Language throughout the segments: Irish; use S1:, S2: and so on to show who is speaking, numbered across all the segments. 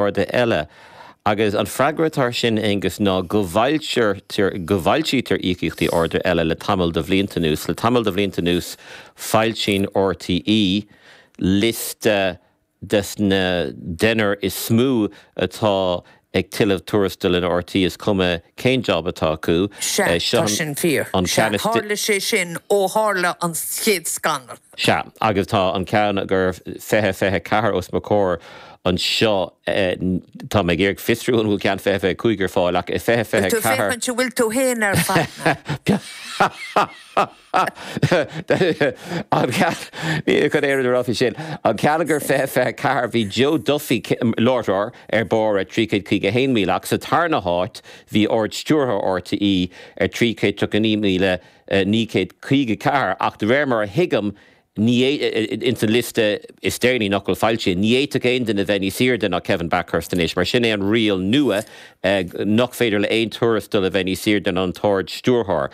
S1: Arda eile. Agus an freagra atá ar sin, Aengus, ná go bhfoilsítear, go bhfoilsítear íocaíochtaí arda eile le tamall de bhlianta anuas. Le tamall de bhlianta anuas, foilsíonn RTÉ liosta des na deichniúr is mó atá ag tuilleamh tuarastail in RTÉ, is cuma cén job atá acu.
S2: Sea, tá sin fíor. Sea, tharla sé sin ó tharla an chéad scannal.
S1: Sea, agus tá an ceann gur 2024 os mo chomhair anseo, tá mé ag iarraidh fiosrú an bhfuil ceann 2025 ar fáil, ach i
S2: 2024. Bhfuil tú féachaint an bhfuil tú féin ar fad?
S1: An ceann, ní chun aon rud a rá faoi sin. An ceann gur 2024, bhí Joe Duffy, láithreoir, ar barr ar 351,000 ach sa tarna háit bhí Ard-Stiúrthóir RTÉ ar 339,000. 954, ach de réir mar a thuigim, ní ins an liosta is deireanaí nach bhfuil foilsithe, ní fhéadfadh aon duine bheith níos airde ná Kevin Bakhurst anois, mar sin é an riail nua, nach féidir le aon tuarastal a bheith níos airde ná an tArd-Stiúrthóir.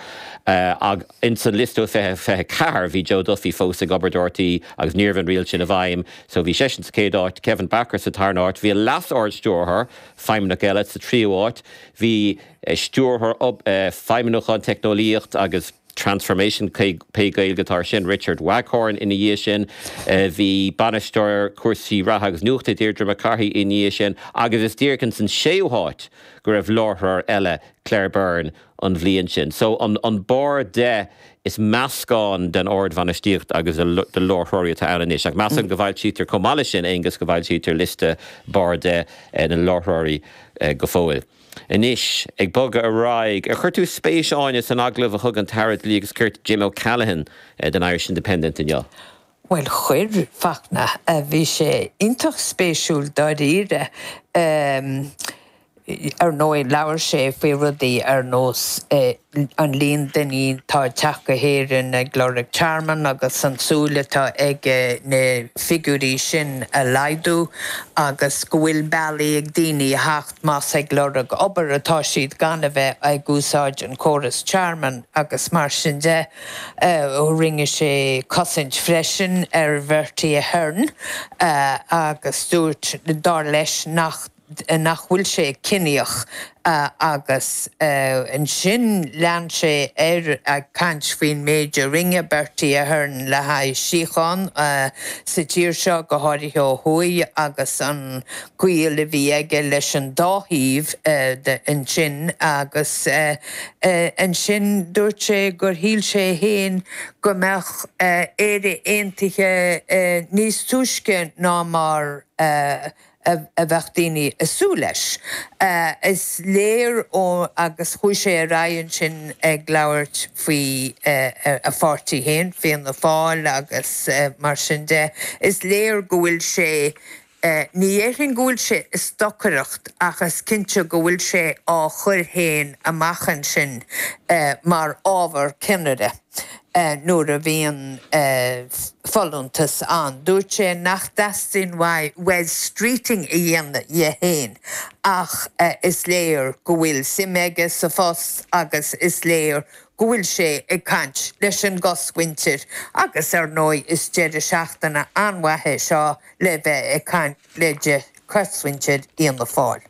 S1: Ach ins an liosta ó 2024, bhí Joe Duffy fós ag obair do RTÉ agus ní raibh an riail sin i bhfeidhm, so bhí seisean sa chéad áit, Kevin Bakhurst sa tarna háit, bhí an Leas-Ard-Stiúrthóir, feidhmeannach eile, sa tríú háit, bhí. Stiúrthóir Feidhmiúcháin Teicneolaíocht agus Transformation, pé Gaeilge atá air sin, Richard Waghorn ina dhiaidh sin. Bhí Bainisteoir Cúrsaí Reatha agus Nuachta Deirdre McCarthy ina dhiaidh sin agus is díreach ins an séú háit go raibh láithreoir eile, Claire Byrne, an bhliain sin. So an barr de, is meascán den ardbhainistíocht agus de láithreoirí atá ann anois. Ach measaim go bhfoilsítear chomh maith leis sin, Aengus, go bhfoilsítear liosta barr de na láithreoirí go fóill. Anois, ag bogadh ar aghaidh, ar chuir tú spéis, Áine, san agallamh a thug an tAire Dlí agus Cirt Jim O'Callaghan don Irish Independent inniu?
S2: Bhuel, chuir, Fachtna. Bhí sé iontach spéisiúil dáiríre. Ar ndóigh, labhair sé faoi rudaí ar nós an líon daoine atá ag teacht go hÉirinn ag lorg tearmann agus an tsúil atá aige na figiúirí sin a laghdú agus go bhfuil bealaí ag daoine a theacht más ag lorg obair atá siad gan a bheith ag úsáid an córas tearmainn agus mar sin de. Rinne sé cosaint freisin ar Bhertie Ahern agus dúirt, dar leis, nach nach bhfuil sé ciníoch agus ansin lean sé air ag caint faoin méid a rinne Bertie Ahern le haghaidh síocháin sa tír seo, go háirithe ó thuaidh, agus an gaol a bhí aige leis an dá thaobh de ansin agus ansin dúirt sé gur shíl sé féin go mbeadh Éire aontaithe níos túisce ná mar a bheadh daoine ag súil leis. Is léir ó agus chuaigh sé ar aghaidh ansin ag labhairt faoi a pháirtí féin, Fianna Fáil agus mar sin de, is léir go bhfuil sé Ní dhéarfainn go bhfuil sé ag stocaireacht ach is cinnte go bhfuil sé á chur féin amach ansin mar ábhar ceannaire nuair a bhíonn folúntas ann. Dúirt sé nach dteastaíonn uaidh Wes Streeting a dhéanamh dhe féin ach is léir go bhfuil suim aige sa phost agus is léir go bhfuil sé ag caint leis an gcosmhuintir agus ar ndóigh is deireadh seachtaine an-mhaith é seo le bheith ag caint le cosmhuintir Fhianna Fáil.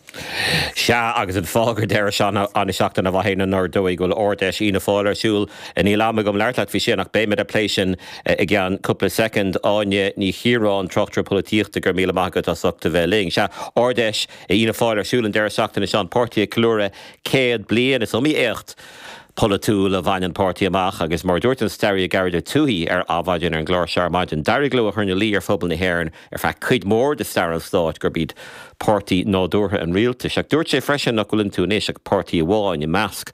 S1: Sea, agus an fáth gur deireadh seachtaine mhaith é ná ar ndóigh go bhfuil Ard-Fheis Fhianna Fáil ar siúl. Níl am agam labhairt leat faoi sin ach beimid ag plé sin i gceann cúpla soicind. Áine Ní Chiaráin, tráchtaire polaitíochta, go raibh míle maith agat as ucht a bheith linn. Sea, Ard-Fheis Fhianna Fáil ar siúl an deireadh seachtaine seo, an páirtí ag ceiliúradh 100 bliain. Is iomaí éacht polaitiúil a bhain an páirtí amach agus mar a dúirt an staraí Gearóid Ó Tuathaigh ar Adhmhaidin ar an gclár seo ar maidin, d'éirigh leo a chur ina luí ar phobal na hÉireann ar feadh cuid mhór de stair an stáit gurb iad páirtí nádúrtha an rialtais. Ach dúirt sé freisin nach bhfuil iontu anois ach páirtí amháin i measc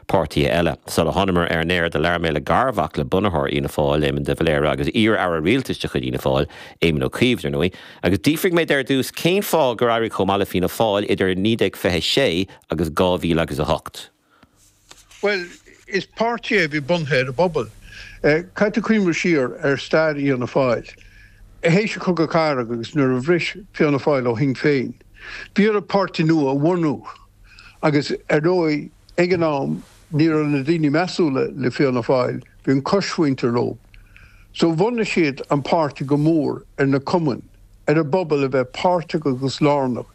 S1: páirtithe eile. Sula thánamar ar an aer do labhair mé le garmhac le bunaitheoir Fhianna Fáil, Éamon de Valera, agus iar-aire rialtais de chuid Fhianna Fáil, Éamon Ó Cuív, dar ndóigh, agus d'fhiafraigh mé de ar dtús cén fáth gur éirigh chomh maith le Fianna Fáil idir 1926 agus 2008.
S3: Bhuel, is páirtí é a bhí bunaithe ar an bpobal. Caithfidh tú cuimhneamh siar ar stair Fhianna Fáil. Théis an Chogadh Cathartha agus nuair a bhris Fianna Fáil ó Shinn Féin, bhí orthu páirtí nua a bhunú agus ar ndóigh ag an am ní raibh na daoine measúla le Fianna Fáil, bhí an choismhuintir leo. So bhunaigh siad an páirtí go mór ar na cumainn, ar an bpobal a bheith páirteach agus lárnach.